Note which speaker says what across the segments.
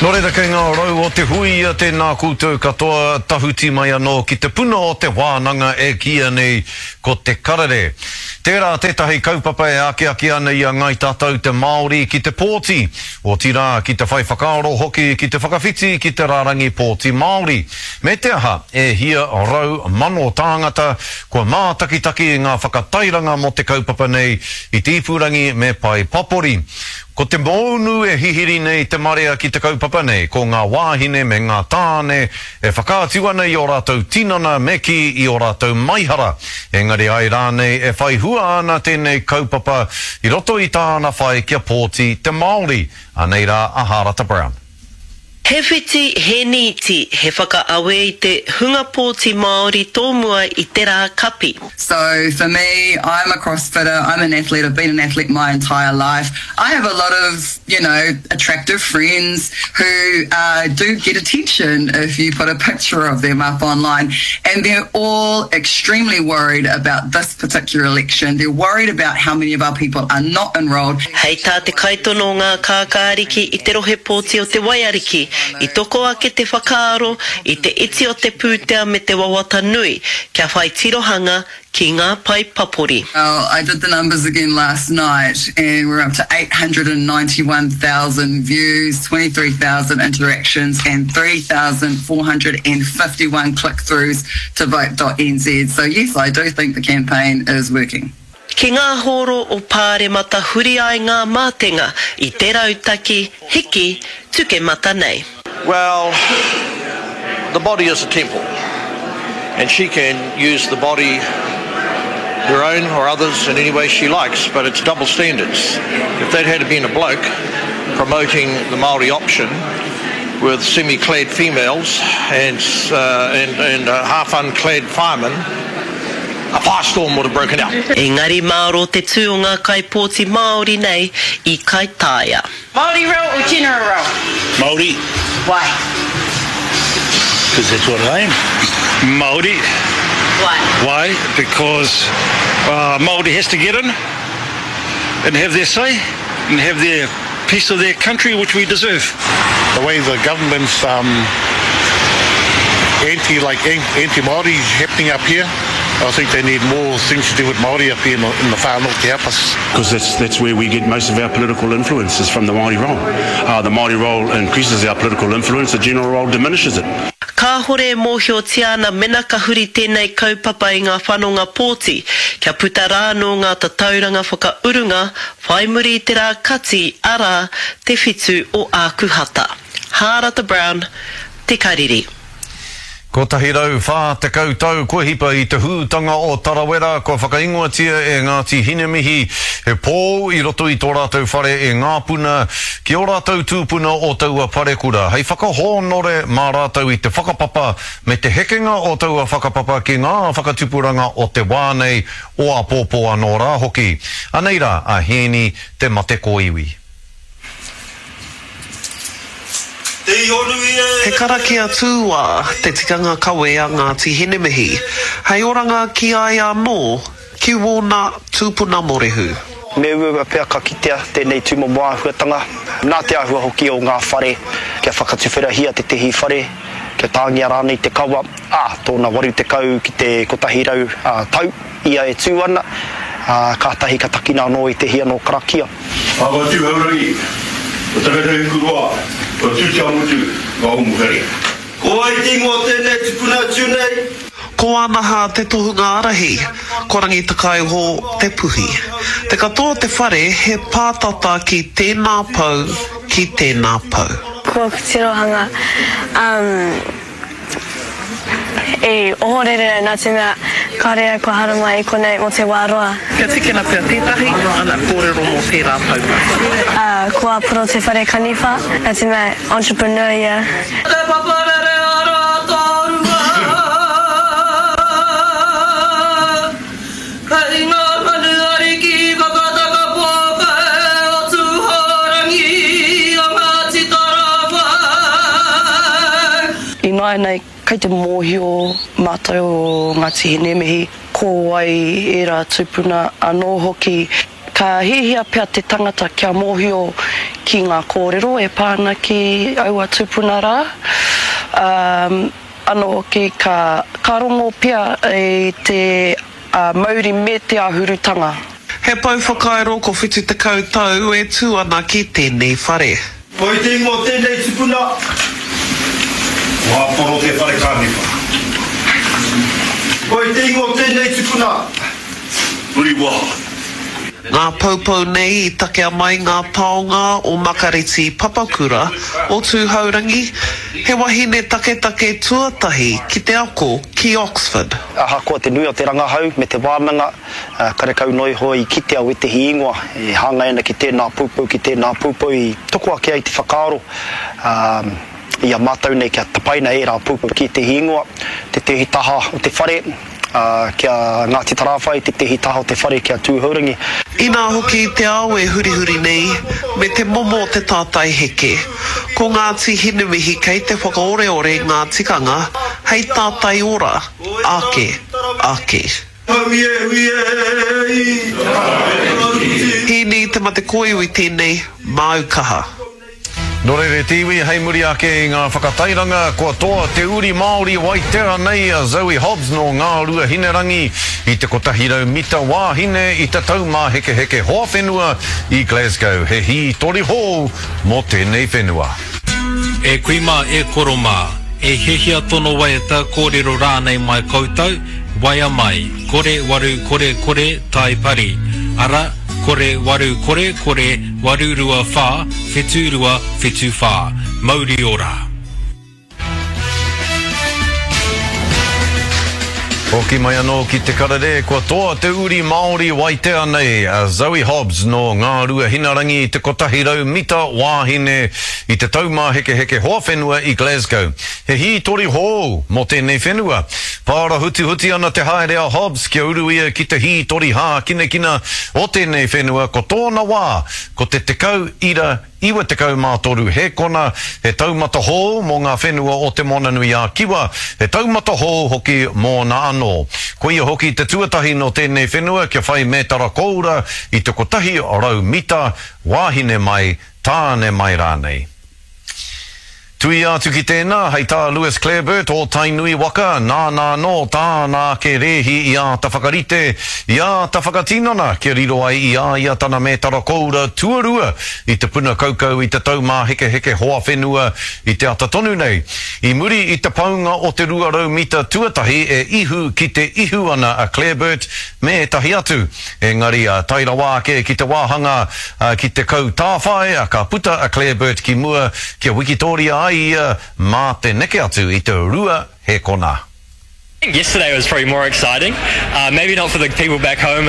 Speaker 1: Nō reira kei ngā rau o te huia tēnā koutou katoa tahuti mai anō ki te puna o te wānanga e kīia nei ko Te Karere. Tērā tētahi kaupapa e akiaki ana i a Ngāi Tātou te Māori ki te pōti, otirā ki te whai whakaaro hoki ki te whakawhiti ki te rārangi pōti Māori. Me te aha, e hia 100,000 tāngata kua mātakitaki i ngā whakatairanga mō te kaupapa nei i te ipurangi me pae papori. Ko te mōunu e hihiri nei te marea ki te kaupapa nei, ko ngā wāhine me ngā tāne e whakaatu ana i ō rātou tinana me kī i ō rātou maihara. Engari ai rānei e whai hua ana tēnei kaupapa i roto i tāna whai kia pōti te Māori? Anei rā a Hārata Brown.
Speaker 2: He whiti, he nīti, he whakaawe i te hunga pōti Māori tōmua i te rā kapi.
Speaker 3: So for me, I'm a crossfitter, I'm an athlete, I've been an athlete my entire life. I have a lot of, you know, attractive friends who uh, do get attention if you put a picture of them up online. And they're all extremely worried about this particular election. They're worried about how many of our people are not enrolled.
Speaker 2: Hei tā te kaitono o ngā kākāriki i te rohe pōti o Te Waiariki, i toko ake te whakaaro i te iti o te pūtea me te wawata nui kia whai tirohanga ki ngā pae papori.
Speaker 3: Well, I did the numbers again last night and we're up to 891,000 views, 23,000 interactions and 3,451 click-throughs to vote.nz. So yes, I do think the campaign is working.
Speaker 2: Ki ngā hōro o Pāremata huri ai ngā mātenga i te rautaki hiki tukemata nei.
Speaker 4: Well, the body is a temple and she can use the body her own or others in any way she likes, but it's double standards. If that had been a bloke promoting the Māori option with semi-clad females and, uh, and, and uh, half-unclad firemen, a firestorm would have broken out.
Speaker 2: Engari mārō te tū o ngā kaipōti Māori nei i Kaitaia.
Speaker 5: Māori reo or general reo?
Speaker 6: Māori.
Speaker 5: Why?
Speaker 6: Because that's what I am. Māori.
Speaker 5: Why?
Speaker 6: Why? Because uh, Māori has to get in and have their say and have their piece of their country which we deserve.
Speaker 7: The way the government's um, anti like anti Māori happening up here, I think they need more things to do with Māori up here in the, in the far north to help us.
Speaker 8: Because that's, that's where we get most of our political influence is from the Māori role. Uh, the Māori role increases our political influence, the general role diminishes it.
Speaker 2: Kāhore e mōhiotia ana mena ka huri tēnei kaupapa i ngā whanonga pōti, kia puta rā anō ngā tatauranga whakaurunga whai muri i te rā kati, arā, te whitu o Ākuhata. Hārata Brown, Te Kariri.
Speaker 1: 140 tau kua hipa i te hūtanga o Tarawera kua whakaingoatia e Ngāti Hinemihi he pou i roto i tō rātou whare e Ngāpuna ki ō rātou tūpuna o taua parekura hei whakahōnore mā rātou i te whakapapa me te hekenga o taua whakapapa ki ngā whakatupuranga o te wā nei o āpōpō anō rā hoki. Anei rā a Hēni Te Matekōiwi.
Speaker 2: He karakia tūwā te tikanga kawe a Ngāti Hinemihi, hei oranga ki a ia anō, ki wōna tūpuna morehu.
Speaker 9: Me uaua pea ka kitea tēnei tūmomo āhuatanga, nā te āhua hoki o ngā whare, kia whakatuwherahia tētehi whare, kia tāngia rānei te kawa, ā, tōna 80 ki te 100 tau ia e tū ana, ā, kātahi ka takina anō ētehi anō karakia.
Speaker 10: Papa Tūhourangi, o Takatahikuroa, o Tūteamutu, o Umuhere.
Speaker 11: Ko wai te ingoa o tēnei tupuna atu nei?
Speaker 2: Ko Anaha te tohunga ārahi, ko Rangitakaiho te puhi. Te katoa o te whare he pātata ki tēnā pou, ki tēnā pou.
Speaker 12: Ko aku tirohanga, um, I ohorere au nā te mea kāore au kua haramai i konei mō te wā roa.
Speaker 13: Kia tikina pea tētahi ana kōrero mō tērā taumata.
Speaker 12: Ā, ko Aporo te whare kaniwha, nā te mea entrepreneur ia.
Speaker 11: Te paparere ara tārua Kei ngā manu ariki whakataka pōkai o Tūhourangi o Ngāti Tarawhai.
Speaker 14: Ināianei, kei te mōhio mātou o Ngāti Hinemihi ko wai ērā tūpuna anō hoki. Ka hiahia pea te tangata kia mōhio ki ngā kōrero e pā ana ki aua tūpuna rā. Ā, anō hoki ka, ka rongo pea i te mauri me te āhurutanga.
Speaker 13: He pou whakairo ko 70 tau e tū ana ki tēnei whare.
Speaker 10: Koi te ingoa o tēnei tupuna, ko Aporo te whare kānipa. Koi te ingoa o tēnei tupuna, Huriwaha.
Speaker 13: Ngā poupou nei i takea mai ngā taonga o Makareti Papakura o Tūhourangi, he wahine taketake tuatahi ki te ako ki Oxford.
Speaker 9: Ahakoa te nui o te rangahau me te wānanga, Karekau noa iho i kitea wētehi ingoa e hāngai ana ki tēnā poupou, ki tēnā poupou i toko ake ai te whakaaro i a mātou nei kia tapaina ērā poupou ki ētehi ingoa, tētehi taha o te whare ki a Ngāti Tarāwhai, tētehi taha o te whare ki a Tūhourangi.
Speaker 13: Inā hoki te ao e hurihuri nei, me te momo o te tātai heke. Ko Ngāti Hinemihi kei te whakaoreore ngā tikanga hei tātai ora, ake, ake. Hīni te mate kōiwi tēnei, māu kaha.
Speaker 1: Nō reira e te iwi, hei muri ake i ngā whakatairanga, kua toa te uri Māori Waitea nei a Zoe Hobbs nō Ngāruahinerangi i te 100 mita wāhine i te Taumāhekeheke Hoawhenua i Glasgow. He hītori hou mō tēnei whenua.
Speaker 15: E kui mā, e koro mā, e hiahia tono waiata, kōrero rānei mai koutou, Waea mai, kore waru kore kore tai pari, ara, kore waru kore kore 8 2 wha whitu rua whitu wha. Mauri ora.
Speaker 1: Hoki mai anō ki te karere, kua toa te uri Māori Waitea nei, a Zoe Hobbs nō Ngāruahinarangi i te 100 mita wāhine i te Taumāhekeheke Hoawhenua i Glasgow. He hītori hou mō tēnei whenua. Pārahutihuti ana te haere a Hobbs kia uru ia ki te hītori hākinakina o tēnei whenua ko tōna wā ko te 10.93 hēkona, he taumata hou mō ngā whenua o Te Moananui-a-Kiwa, he taumata hou hoki mōna anō. Koia hoki te tuatahi nō tēnei whenua kia whai mētara kōura i te 100 mita, wāhine mai, tāne mai rānei. Tuia atu ki tēnā, hei tā Lewis Clareburt o Tainui waka, nāna anō tāna ake rēhi i āta whakarite, i āta whakatinana kia riro ai i a ia tana mētara koura tuarua i te puna kaukau i te Taumāhekeheke hoa whenua i te ata tonu nei. I muri i te paunga o te 200 mita tuatahi e ihu ki te ihu ana a Clareburt me ētahi atu. Engari, tae rawa ake ki te wāhanga ki te kau tāwhai, ka puta a Clareburt ki mua kia wikitōria ai ia mā te neke atu i te rua hēkona.
Speaker 16: Yesterday was probably more exciting, uh, maybe not for the people back home,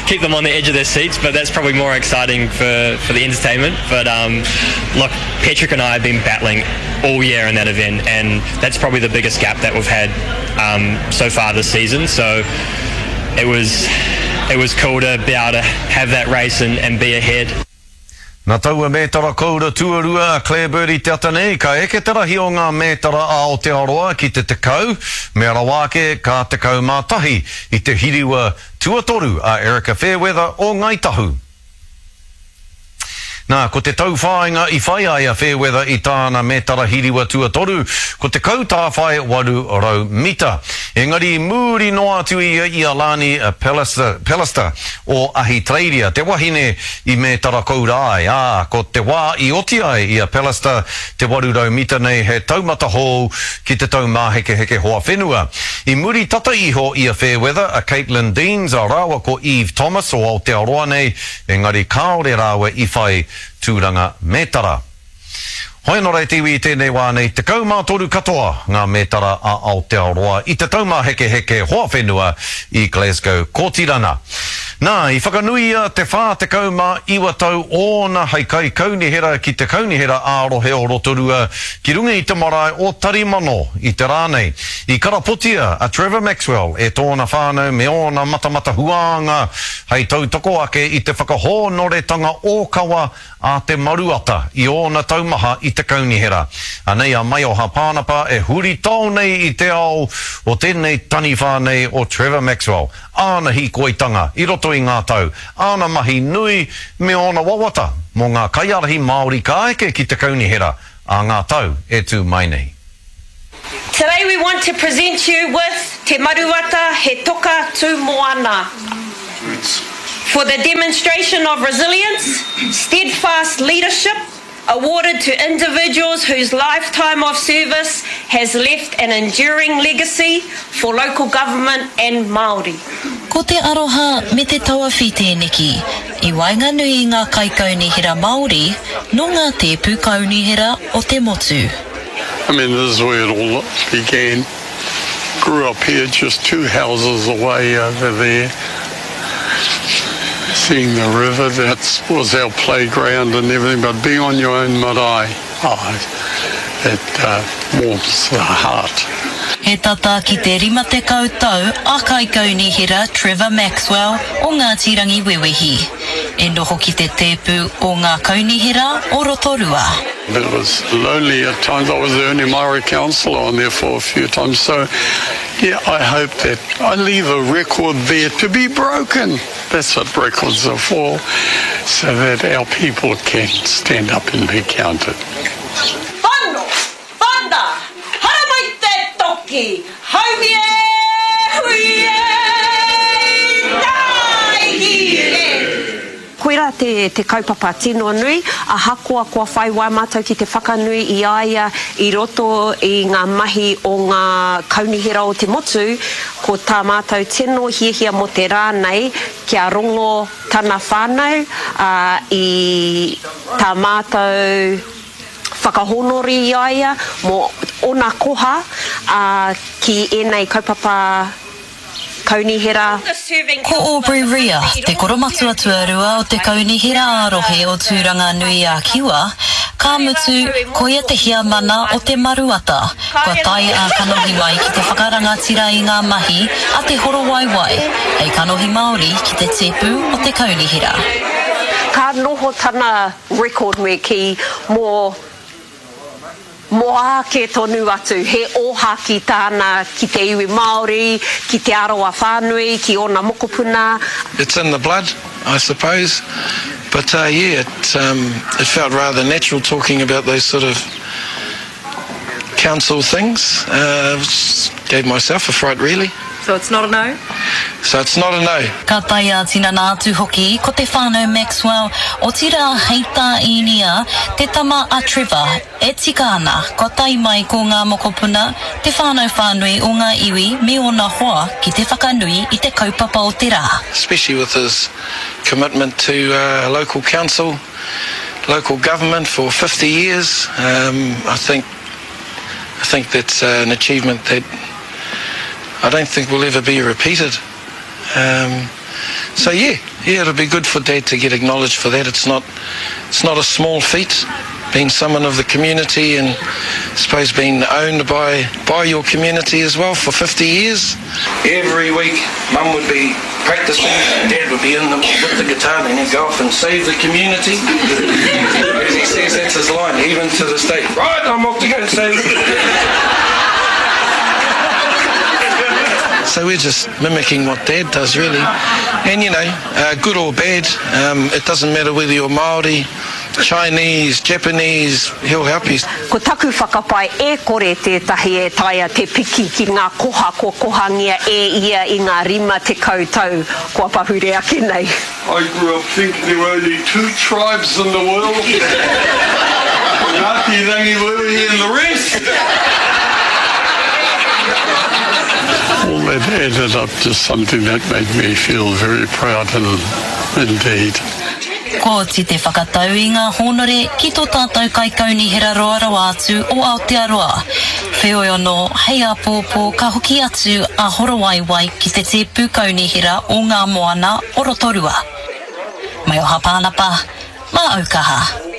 Speaker 16: keep them on the edge of their seats, but that's probably more exciting for, for the entertainment. But um, look, Patrick and I have been battling all year in that event, and that's probably the biggest gap that we've had um, so far this season. So it was it was cool to be able to have that race and, and be ahead.
Speaker 1: Na taua mētara koura tuarua a Clare Bird i te ata nei, ka eke te rahi o ngā mētara a Aotearoa ki te 10, mea rawa ake ka 11 i te hiriwa tuatoru a Erika Fairweather o Ngāi Tahu. Nā, ko te tauwhāinga i whai ai a Fairweather i tāna mētara hiriwa tuatoru, ko te kautāwhai 800 mita. Engari i mūri noa atu ia i a Lani Pallister, Pallister o Ahitereiria, te wahine i mētara koura ai, ā, ko te wā i oti ai i a Pallister te 800 mita nei he taumata hou ki te taumāhekeheke hoa whenua. I muri tata iho i a Fairweather, a Caitlin Deans a rāua ko Eve Thomas o Aotearoa nei, Engari kāore rāua i whai tūranga mētara. Hoi anō rā e te iwi i tēnei wā nei, 13 katoa ngā mētara a Aotearoa i te taumāhekeheke hoa whenua i Glasgow, Kōtirana. Nā, i whakanuia te 49 tau ōna hei kaikaunihera ki te Kaunihera ā-Rohe o Rotorua ki runga i te marae o Tarimano i te rā nei. I karapotia a Trevor Maxwell e tōna whānau me ōna matamata huānga Hei tautoko ake i te whakahōnoretanga ōkawa a Te Maruata i ōna tau maha i te kaunihera. Anei a Maioha Pānapa e huritao nei i te ao o tēnei taniwha nei o Trevor Maxwell, āna hīkoitanga i roto i ngā tau, āna mahi nui me ōna wawata mō ngā kaiārahi Māori ka eke ki te kaunihera ā ngā tau e tū mai nei.
Speaker 5: Today we want to present you with Te Maruata He Toka Tū Moana for the demonstration of resilience, steadfast leadership awarded to individuals whose lifetime of service has left an enduring legacy for local government and Māori.
Speaker 17: Ko te aroha me te tauawhi tēneki i waenganui i ngā kaikaunihera Māori nō ngā tēpu kaunihera o te motu.
Speaker 18: I mean this is where it all began. Grew up here just two houses away over there. Seeing the river, that was our playground and everything, but being on your own marae, oh, it uh, warms the heart.
Speaker 17: He tata ki te 50 tau a Kaikaunihera Trevor Maxwell o Ngāti Rangiwewehi e noho ki te tēpu o ngā kaunihera o Rotorua.
Speaker 18: It was lonely at times. I was the only Māori councillor on there for a few times. So, yeah, I hope that I leave a record there to be broken. That's what records are for, so that our people can stand up and be counted.
Speaker 5: Whano, whana, haramai te toki, haumi e, hui e, tāiki e. Koirā te, te kaupapa tino nui, ahakoa kua whai wā mātou ki te whakanui i a ia i roto i ngā mahi o ngā kaunihera o te motu, ko tā mātou tino hiahia mō te rā nei kia rongo tana whānau, ā, i tā mātou whakahōnore i a ia mō ōna koha, ā, ki ēnei kaupapa Kaunihera.
Speaker 17: Ko Aubrey Rea, te koromatua tuarua o te Kaunihera ā-Rohe o Tūranga-nui-a-Kiwa, ka mutu, koia te heamana o Te Maruata, kua tae ā-kanohi mai ki te whakarangatira i ngā mahi a Te Horowaiwai hei kanohi Māori ki te tēpu o te Kaunihera.
Speaker 5: Ka noho tana record me kī mō Mō āke tonu atu, he ōhākī tāna ki te iwi Māori, ki Te Arawa whānui, ki ōna mokopuna.
Speaker 19: It's in the blood, I suppose. But uh, yeah, it, um, it felt rather natural talking about those sort of council things. Uh, gave myself a fright, really.
Speaker 20: So it's not a no?
Speaker 19: So it's not a no.
Speaker 17: Ka tae ā-tinana atu hoki ko te whānau Maxwell, otirā hei tā Īnia, te tama a Trevor, e tika ana kua tae mai ko ngā mokopuna, te whānau whānui o ngā iwi me ōna hoa ki te whakanui i te kaupapa o te rā.
Speaker 19: Especially with his commitment to local council, local government for 50 years, um, I think I think that's an achievement that I don't think will ever be repeated. Um, so yeah, yeah, it'll be good for Dad to get acknowledged for that. It's not, it's not a small feat being someone of the community and I suppose being owned by, by your community as well for 50 years. Every week, Mum would be practicing, Dad would be in the, with the guitar, and he'd go off and save the community. As he says, that's his line, even to this day. Right, I'm off to go and save the So we're just mimicking what Dad does, really. And, you know, uh, good or bad, um, it doesn't matter whether you're Māori, Chinese, Japanese, he'll help you.
Speaker 5: Ko taku whakapae e kore tētahi e taea te piki ki ngā koha kua kohangia e ia i ngā 50 tau kua pahure ake nei.
Speaker 18: I grew up thinking there were only two tribes in the world, Ngāti Rangiwewehi and the rest. All that added up to something that made me feel very proud and indeed.
Speaker 17: Kua oti te whakatau i ngā hōnore ki tō tātou Kaikaunihera roa rawa atu o Aotearoa. Wheoi anō, hei āpōpō ka hoki atu a Horowaiwai ki te tēpu kaunihera o ngā moana o Rotorua. Maioha Pānapa, mā Aukaha.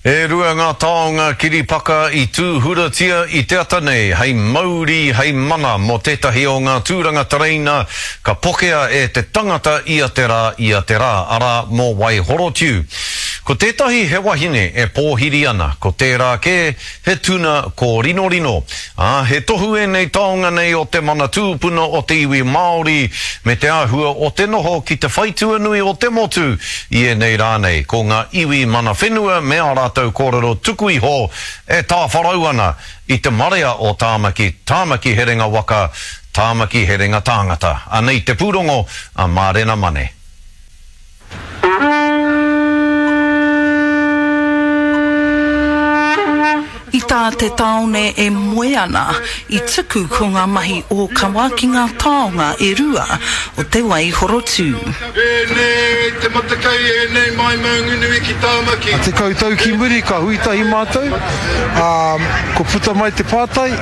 Speaker 1: E rua ngā taonga kiripaka i tūhuratia i te ata nei hei mauri, hei mana mō tētahi o ngā tūranga tereina ka pokea e te tangata ia te rā, ia te rā, arā, mō Waihorotiu. Ko tētahi he wahine e pōhiri ana, ko tērā kē he tuna kōrinorino. Ā, he tohu ēnei taonga nei o te mana tūpuna o te iwi Māori me te āhua o te noho ki te whaitua nui o te motu i ēnei rā nei, ko ngā iwi mana whenua me ā rātou kōrero tuku iho e tāwharau ana i te marea o Tāmaki, Tāmaki herenga waka, Tāmaki herenga tāngata. Anei te pūrongo a Mārena Mane.
Speaker 20: I tā te tāone e moe ana, i tuku ko ngā mahi ōkawa ki ngā taonga e rua o te wai horotū.
Speaker 10: Ēnei te matakai, ēnei mai Maunganui ki Tāmaki.
Speaker 21: 10 tau ki muri ka hui tahi mātou, ā, kua puta mai te pātai,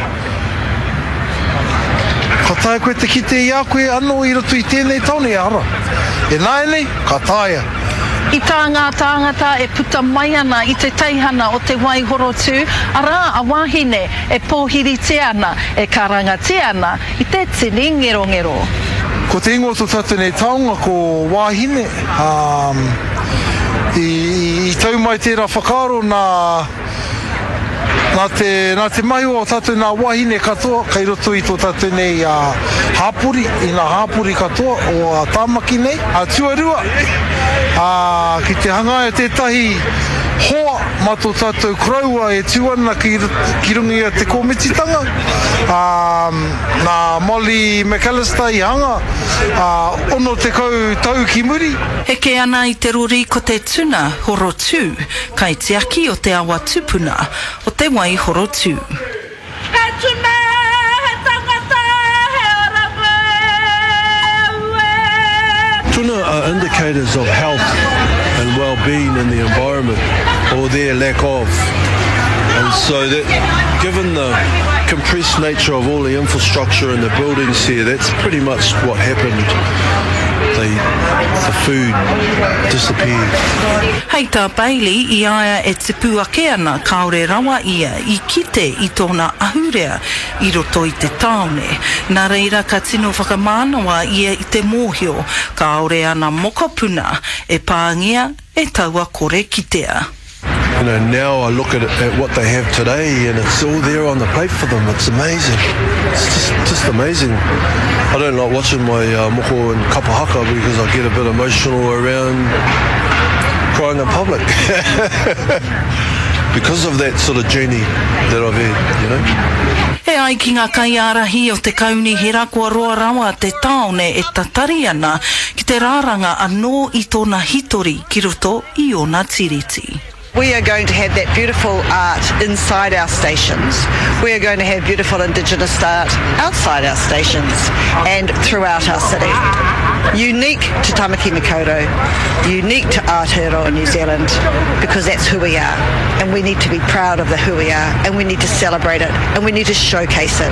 Speaker 21: Ka taea koe te kite i a koe anō i roto i tēnei tāone? Ehara. Ināianei, ka taea.
Speaker 20: I tā ngā tāngata e puta mai ana i te teihana o Te Waihorotū, arā a Wāhine e pōhiritia ana, e karangatia ana i te tini ngerongero.
Speaker 21: Ko te ingoa o tō tātou nei taonga ko Wāhine, ā, i tau mai tērā whakaaro nā. Nā te, nā te mahi o tātou nā wāhine katoa kei roto i tō tātou nei hāpori, i ngā hāpori katoa o Tāmaki nei. Tuarua, ki te hangaia tētahi hoa mā tō tātou koroua e tū ana ki, ki runga i a te kōmititanga, nā Molly McAllister i hanga, 60 tau ki muri.
Speaker 20: Heke ana i te rori ko te tuna horotū. Kaitiaki o te awa tupuna o Te Waihorotū.
Speaker 11: He tuna, he tangata, he oranga, aue.
Speaker 22: Tuna are indicators of health and well-being in the environment, or their lack of. And so that, given the compressed nature of all the infrastructure and the buildings here, that's pretty much what happened. The, the food disappeared.
Speaker 20: Hei tā Bailey, i a ia e tipu ake ana kāore rawa ia i kite i tōna ahurea i roto i te tāone. Nā reira ka tino whakamānawa ia i te mōhio kāore ana mokopuna e pāngia e taua kore kitea.
Speaker 22: You know, now I look at, at what they have today and it's all there on the plate for them. It's amazing. It's just, just amazing. I don't like watching my uh, moko and kapa haka because I get a bit emotional around crying in public. because of that sort of journey that I've had, you know.
Speaker 20: E ai ki ngā kaiārahi o te kaunihera kua roa rawa te tāone e tatari ana ki te rāranga anō i tōna hitori ki roto i ōna tiriti.
Speaker 23: We are going to have that beautiful art inside our stations. We are going to have beautiful indigenous art outside our stations and throughout our city. Unique to Tamaki Makaurau, unique to Aotearoa New Zealand, because that's who we are. And we need to be proud of the who we are, and we need to celebrate it, and we need to showcase it.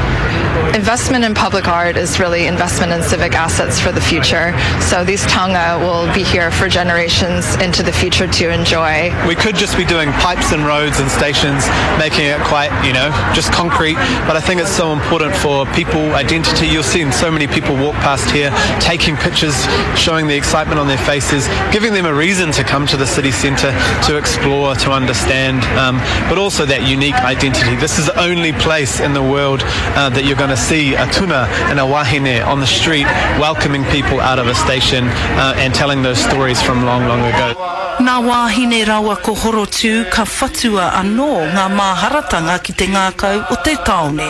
Speaker 24: Investment in public art is really investment in civic assets for the future. So these taonga will be here for generations into the future to enjoy.
Speaker 25: We could just be doing pipes and roads and stations, making it quite, you know, just concrete. But I think it's so important for people, identity. You'll see so many people walk past here, taking pictures, showing the excitement on their faces, giving them a reason to come to the city centre to explore, to understand, um, but also that unique identity. This is the only place in the world uh, that you're going to see a tuna and a wahine on the street welcoming people out of a station uh, and telling those stories from long, long ago.
Speaker 20: Nā Wāhine rawa ko Horotū ka whatua anō ngā māharatanga ki te ngākau o te tāone.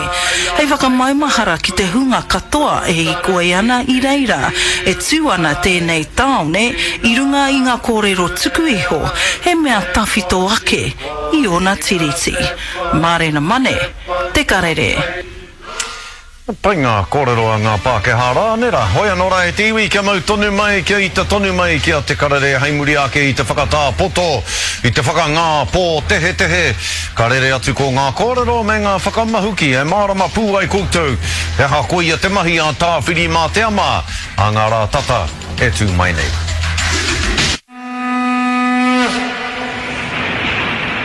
Speaker 20: Hei whakamaumahara ki te hunga katoa e hīkoi ana i reira, e tū ana tēnei tāone i runga i ngā kōrero tuku iho, he mea tawhito ake i ōna tiriti. Mārena Mane, Te Karere.
Speaker 1: Pai ngā kōrero a ngā Pākehā rā, nē rā? Hoi anō rā e te iwi, kia mau tonu mai, kia ita tonu mai ki a Te Karere hei muri ake i te whakatā poto, i te whakangā pōtehetehe. Ka rere atu ko ngā kōrero me ngā whakamahuki e mārama pū ai koutou he aha koia te mahi a Tāwhirimātea mā, a ngā rā tata e tū mai nei.